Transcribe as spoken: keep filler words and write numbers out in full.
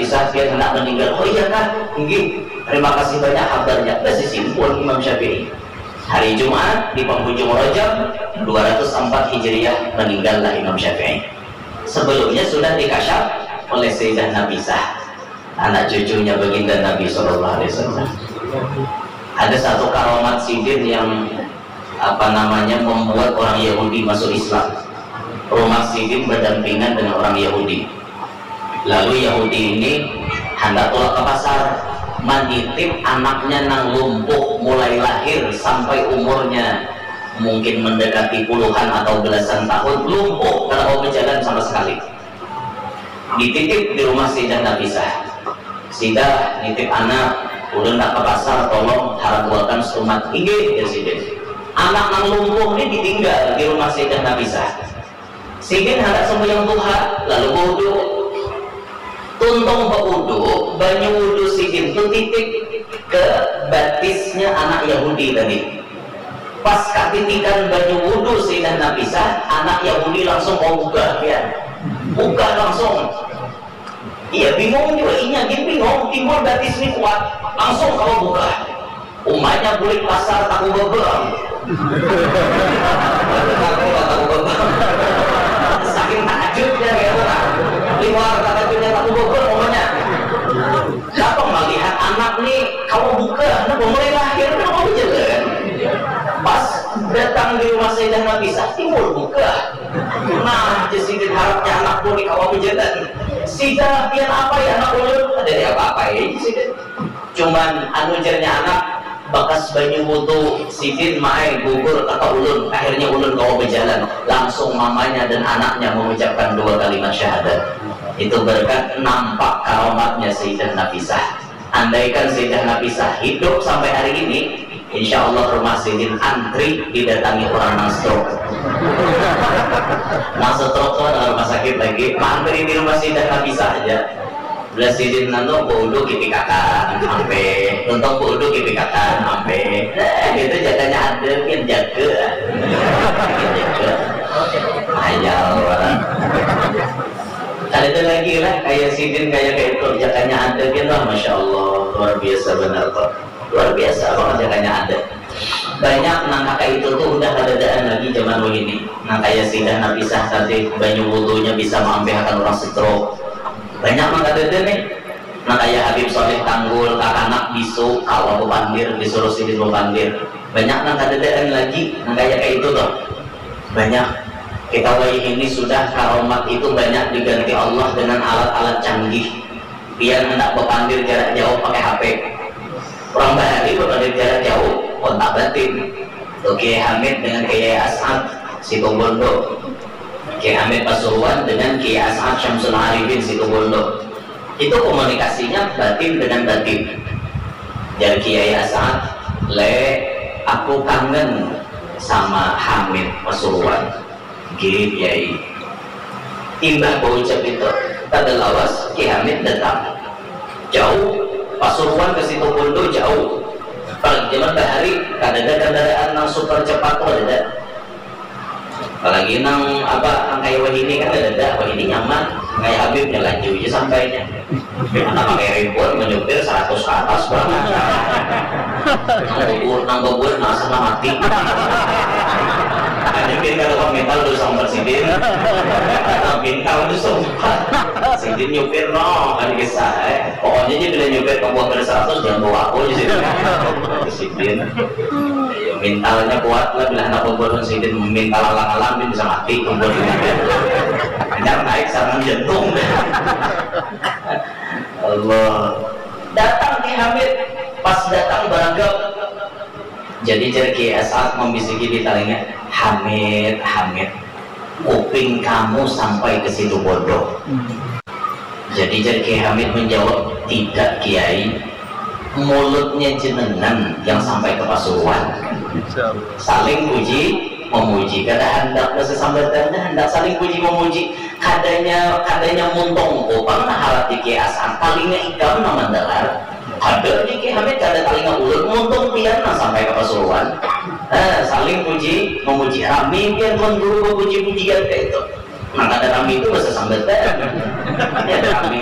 Nafisah, pian handak maninggal. Oh iya kah? Inggih. Terima kasih banyak habarnya. Basisin pun Imam Syafi'i. Hari Jumat di panghujung Rajab dua ratus empat Hijriah, maninggallah Imam Syafi'i. Sebelumnya sudah dikasyaf oleh Sayyidah Nafisah, anak cucunya Baginda Nabi Sallallahu Alaihi Wasallam. Ada satu karamat sidin yang, apa namanya, membuat orang Yahudi masuk Islam. Rumah sidin berdampingan dengan orang Yahudi. Lalu Yahudi ini handak tulak ke pasar, manitip anaknya nang lumpuh mulai lahir sampai umurnya mungkin mendekati puluhan atau belasan tahun, lumpuh, kada mau berjalan sama sekali. Dititip di rumah Sayyidah Nafisah. "Sida, nitip anak, ulun nak ke pasar, tolong haraguakan setumat." "Inggih," jar sidin. Anak nang lumpuh ni ditinggal di rumah Sayyidah Nafisah. Sidin handak sembahyang duha, lalu baudu. Tuntung baudu, banyu wudu sidin tu titik ke batisnya anak Yahudi tadi. Pas katitikan banyu wudu Sayyidah Nafisah, anak Yahudi langsung mau bugah, ya. Bugah langsung. Iya, bingung juga inya, gin bingung, timbul batis ni kuat, langsung kawa bugah. Umanya bulik pasar taku bebeng. Taku, taku bebeng. Saking takajutnya, gitu kan. Liwar takajutnya taku bebeng umanya. Napa malihat anak ni kawa bugah, napa mulai lahir, napa mulai jalan. Pas datang di rumah Sayyidah Nafisah, timbul bugah. Nah, jar sidin, harapnya anakku ni kawa bajalan. "Sida, pian apa ya anak ulun?" "Kada ada apa-apa ya," jar sidin. "Cuman anu," jarnya anak, "bakas banyu wudu sidin maai gugur ka ulun, akhirnya ulun kawa bajalan." Langsung mamanya dan anaknya mengucapkan dua kalimat syahadat. Itu berkat nampak karamatnya Sayyidah Nafisah. Andaikan Sayyidah Nafisah hidup sampai hari ini, insya Allah rumah sidin antri didatangi orang nang stroke. Nang stroke tu ada rumah sakit lagi, mantri di rumah Sayyidah Nafisah aja. Belas sidin nanu baudu kipikakan ampe, tuntung baudu kipikakan ampe. Eh, itu jaganya ada, kan jaga. Jaga. Ayal orang. Ada lagi lah, kayak sidin, kayak kayak itu, jaganya ada, kan lah, masya Allah, luar biasa benar kok. Luar biasa banget jaganya ada. Banyak nang kaka itu tuh udah kadadaan lagi zaman wahini. Nang kaya Sayyidah Nafisah tadi, banyu wudunya bisa maampihakan orang stroke. Banyak nang kadada nih. Nang kaya Habib Saleh Tanggul, kakanak bisu, kawa bapandir, disuruh sidin bapandir. Banyak nang kadadaan lagi, nang kaya kaya itu tuh. Banyak. Kita wayah ini sudah karomat itu banyak diganti Allah dengan alat-alat canggih. Pian handak bapandir jarak jauh pakai H P. Urang bahari bapandir jarak jauh, kontak batin. Tuh Kiai Hamid dengan Kiai As'ad, Situbondo. Kiai Hamid Pasuruan dengan Kiai As'ad Syamsul Arifin, Situbondo. Itu komunikasinya batin dengan batin. Jar Kiai As'ad, "Le, aku kangen sama Hamid Pasuruan." Gih, Kiai. Imbah baucap itu, kada lawas Ki Hamid datang. Jauh, Pasuruan ke Situbondo jauh. Apalagi zaman bahari, kadada kendaraan nang super cepat tu, kadada. Apalagi nang apa, nang kaya wahini kan kadada, wahini nyaman, kaya Habib nya laju ja sampainya. Anak pakai ribuan menyupir seratus ke atas banget. Nang bebur, nang bebur, nah, sana mati. Hanya bin kada kawa mintal dosa umpat sidin. Nah, mintal dosa umpat. Sidin nyupir, no, kan kisah, eh. Pokoknya aja bila nyupir ke buah kada seratus, jangan bawa aku di sini. Sidin. Ya, mintalnya kuat lah, bila anak bebur sidin mintal alang-alang, dia bisa mati bebur. Hanyar naik serangan jantung. Allah. Datang Ki Hamid, pas datang baragam. Jadi jar Ki As'ad membisiki di talinga, "Hamid, Hamid, kuping kamu sampai ke Situbondo." Jadi jar Ki Hamid menjawab, "Tidak, Kiai, mulutnya jenengan yang sampai ke Pasuruan." Saling puji memuji, kada handak bersesambatan, kada handak saling puji memuji. Kadanya, kadanya muntung kupang nang harat di Kiai As'ad, talinga ikam nang mandangar. Kada di Kiai Hamid, kada talinga ulun, muntung pian nang sampai ka Pasuruan. Eh, saling puji memuji, rami pian tuan guru bepuji-pujian kaya itu. Nang kada rami itu bersesambatan. Ya, rami